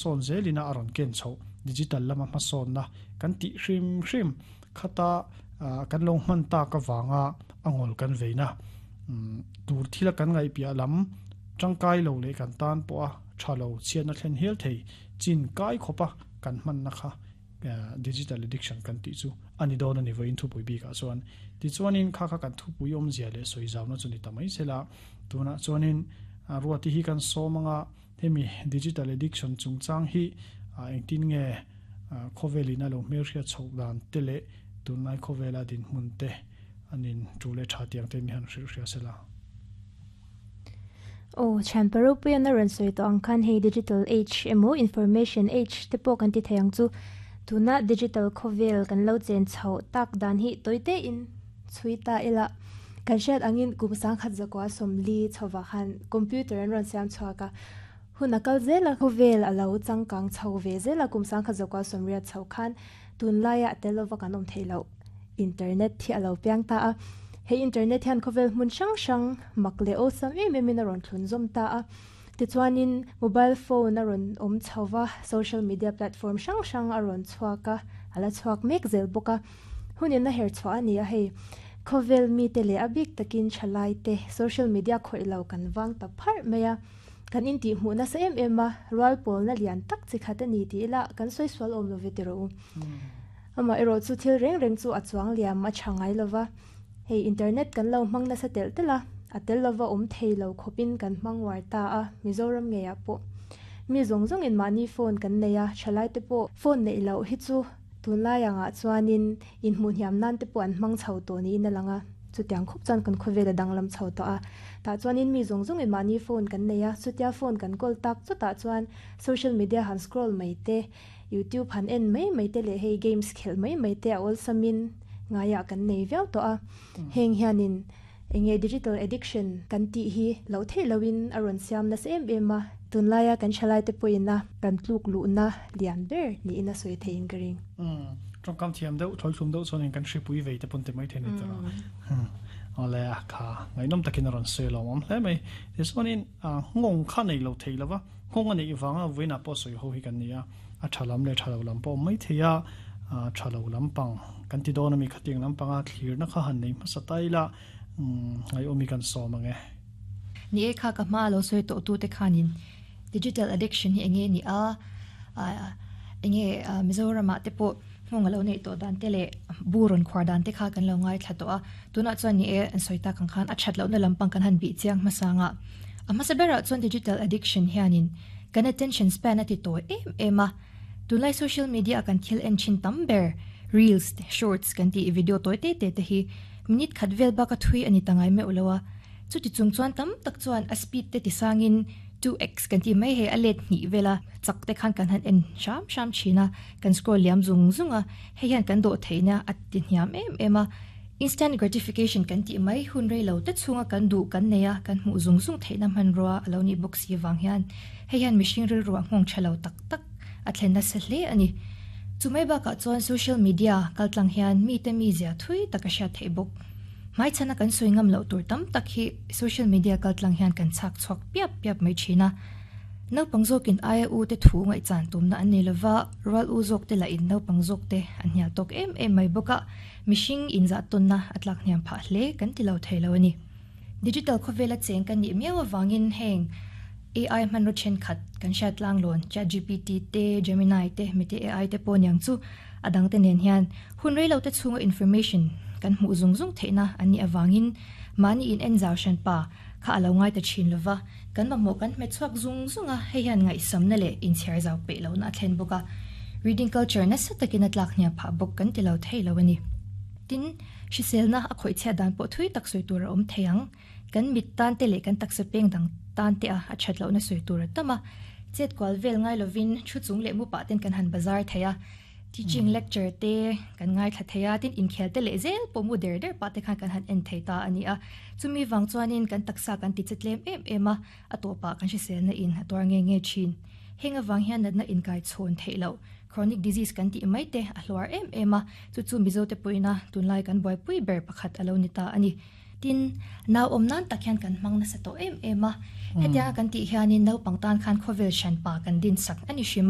Sawn zelina a rawn ken chhoh digital lama hmasawnna kan tih hrim hrim khata kan lo hman tak avanga a ngawl kan veina tur thila kan ngaihpiah lam tangkai lo leh kan tan pawha tha lo chhiatna thlen hial thei chin kai khawpa kan hmanna kha digital addiction kan tih chu a ni dawn a ni vawiin thupui bikah chuan. Tichuanin kha kha kan thupui awmzia leh sawi zauna chu ni ta mai sela tunah chuanin Ruati hi kan sawm anga Hemi digital addiction chungchang hi engtin nge khawvelin a lo hmelhriat chhoh dan te leh tunlai khawvela dinhmun te an in tu leh tha tiang te mi han hrilh hria sela. Aw, thian Paropuian a rawn sawi tawh ang khan hei digital age emaw information age te pawh kan ti thei ang chu. Tuna digital khawvel kan lo chen chhoh tak dan hi tawi tein chhui ta ila. Kan hriat angin kum sangkhat zakua sawmli chhovah khan computer an rawn siam chhuak a, hun a kal zel a, khawvel a lo changkang chho ve zel a, kum sangkhat zakua sawmriat chho khan tunlaia a tel lova kan awm theih loh internet hi a lo piang ta a. He internet hian khawvel hmun hrang hrang mak leh awlsam em em in a rawn thlun zawm ta a. Tichuanin mobile phone a rawn awm chho va, social media platform hrang hrang a rawn chhuak a, a la chhuak mek zel bawk a. Hun in a her chhuah a ni a hei. Khawvel mite leh a bik takin thalai te social media khawih lo kan vang ta pharh mai a. Kan intih hmuh nasa em em a, rual pawlna lian tak chi khat a ni tih ila kan sawi sual awm lo ve tiraw u. Amah erawh chu thil reng reng chu a chuang liam a tha ngai lova. Hei internet kan lo hmang nasa telh telh a, a tel lova awm thei lo khawpin kan hmang uar ta a, Mizoram ngeiah pawh. Mi zawng zawngin mahni phone kan nei a, thalai te pawh phone neih loh hi chu Tunlai angah chuanin inhmuh hniam nan te pawh an hmang chho tawh niin a lang a, chutiang khup chuan kan khawvel a danglam chho tawh a. Tah chuanin mi zawng zawngin mahni phone kan nei a, chutia phone kan kawl tak chutah chuan social media han scroll mai te, youtube han en mai mai te leh hei games khelh mai mai te a awlsamin ngaiah kan nei viau tawh a. Heng hianin enge digital addiction kan tih hi loh theih lohin a rawn siam nasa em em a, tunlaia kan thalai te pawhin a kan tluk luhna lian ber niin a sawi theiin ka ring. Umm, tawngkam thiam deuh, thlawithlum deuh chuanin kan hripui vei te pawn ti mai thei ni tawh a. Awle a kha ngaihnawm takin a rawn sawi lawm awm hle mai. Tichuanin nghawng kha nei lo thei lova, nghawng a neih vanga vawiinah pawh sawi ho hi kan ni a. A tha lam leh tha lo lam pawh awm mai thei a, tha lo lampang kan ti dawn a mi khatiang lampanga thlirna kha han nei hmasa ta ila ngaihawm hi kan sawm ang e. Ni e kha ka hma a lo sawi tawh tute khanin digital addiction hi enge ni a, enge Mizoramah te pawh hmawng a lo neih tawh dan te leh bu rawn khuar dan te kha kan lo ngaithla tawh a, tunah chuan ni e an sawi tak ang khan a that lohna lampang kan han bih chiang hmasa ang a, a hmasa berah chuan digital addiction hianin Kan attention span a ti tawi em em a, tunlai social media a kan thil en thin tam ber reels te shorts kan tih video tawi te te te hi minute khat vel bak a thui a ni ta ngai meuh lo a, chuti chung chuan tam tak chuan a speed te ti sangin 2x kan tih mai hei a let hnih vel a chak te khan kan han en hram hram thin a, kan scroll liam zung zung a, hei hian kan dawh theihna a ti hniam em em a. Instant gratification kan tih mai hun rei lo te chhunga kan duh kan nei a, kan hmuh zung zung theihna hmanrua a lo nih bawk si vang hian hei hian mihring rilruah nghawng tha lo tak tak a thlen nasa hle a ni. Chu mai bakah chuan social media kaltlang hian mite mizia thui tak a hriat theih bawk. Hmaichhana kan sawi ngam loh tur tam tak hi social media kaltlang hian kan chhak chhuak piap piap mai thin a. Naupang zawkin aia u te thu ngaihchan tumna an nei lova, rual u zawk te lahin naupang zawk te an hnial tawk em em mai bawk a. Mihring inzah tawnna a tlak hniam phah hle kan ti lo thei lo a ni. Digital khawvela cheng kan nih miau avangin heng AI hmanraw thenkhat kan hriat tlanglawn ChatGPT te, Gemini te, Meta AI te pawh niang chu a dangte nen hian hun rei lo te chhunga information kan hmuh zung zung theihna an nih avangin mahni in en zau hran pa kha a lo ngai ta thin lova, kan mamawh kan hmet chhuak zung zung a, hei hian ngaihsamna leh inchhiar zau peih lohna a thlen bawk a, reading culture nasa takin a tlak hniam phah bawk kan ti lo thei lo a ni. Tin, hriselna a khawih chhiat dan pawh thui tak sawi tur a awm thei ang, kan mit tan te leh kan taksa peng dang tan te a a that lohna sawi tur a tam a, chet kual vel ngai lovin thu chung leh mu pah ten kan han bazar thei a, Teaching lecture te kan ngaithla thei a, tin inkhel te leh zel pawh mu der der pah te khan kan han en thei ta a ni a. Chumi vang chuanin kan taksa kan ti che tlem em em a, a tawpah kan hriselna in a tuar nge nge thin. Heng avang hian natna inkai chhawn theih loh, chronic disease kan tih mai te a hluar em em a, chu chu Mizo te pawhin a tunlai kan buaipui ber pakhat a lo ni ta a ni. Tin, nau awm nan tak hian kan hmang nasa tawh em em a. Hetianga kan tih hianin naupang tan khan khawvel hranpa kan din sak a ni hrim a.